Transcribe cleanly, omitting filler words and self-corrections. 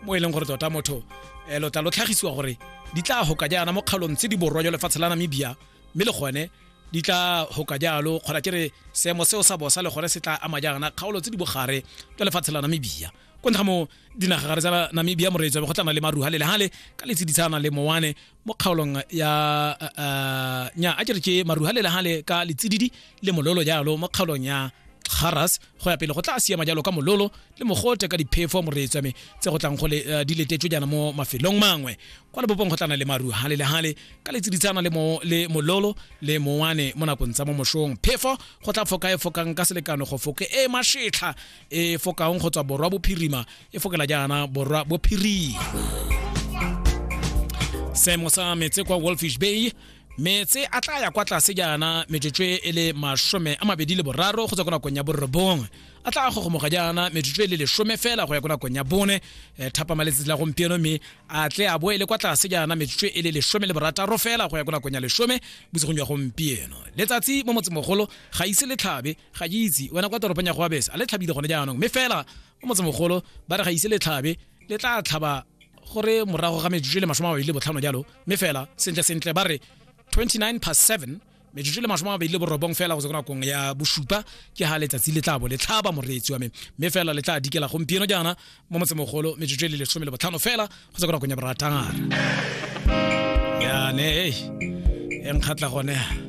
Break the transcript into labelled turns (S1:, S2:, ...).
S1: Mo e leng gore tota motho lo tla lo tlhagisiwa gore di tla hoka jaana mo kgaolong tse di borwa jwa lefatshe la Namibia, mme le gone di tla hoka jalo kgona ke re seemo seo sa bosa le gone se tla ama jaana kgaolo tse di bogare jwa lefatshe la Namibia. Ko ntle ga mo dinagagare tsa Namibia, moreetsi wa me, go tla nna le maru hale le hale ka letsiditsana le mowane mo kgaolong ya nya a ke re ke maru hale le hale ka letsididi le mololo jalo mo kgaolong ya Kharas. Go ya pele go tla siama jalo ka mololo le mogote ka diphefo, moreetsi wa me, tse go tlang go le di letetswe jaana mo mafelong mangwe. Kwa lebopong go tlana le maru hale le hale ka letsiditsana le mo le mololo le mowane mo nakong tsa mo mošong. Phefo go tla foka e fokang ka selekano go foke e mashetlha e fokang go tswa borwa bophirima e fokela jaana borwa bophirima. Seemo sa metse kwa Wolfish Bay, metse a tla ya kwa tlase jaana metsotso e le 23 go tswa ko nakong ya 9, a tla gogomoga jaana metsotso e le 10 fela go ya ko nakong ya 4 thapama letsatsi la gompieno, mme a tle a boele kwa tlase jaana metsotso e le 16 fela go ya ko nakong ya 10 bosigong jwa gompieno. Letsatsi mo motsemogolo ga ise le tlhabe. Ga ke itse wena kwa toropong ya Goabese a le tlhabile gone jaanong, mme fela mo motsemogolo ba re ga ise le tlhabe, le tla tlhaba gore morago ga metsotso e le 25 jalo, mme fela sentle sentle ba re 29 past 7, metsotso e le 29 fela go tswa ko nakong ya 7 ke ga letsatsi le tla bo le tlhaba, moreetsi wa me, mme fela le tla dikela gompieno jaana mo motsemogolo metsotso e le 15 fela go tswa ko nakong ya 6. Yane e nkgatla gone.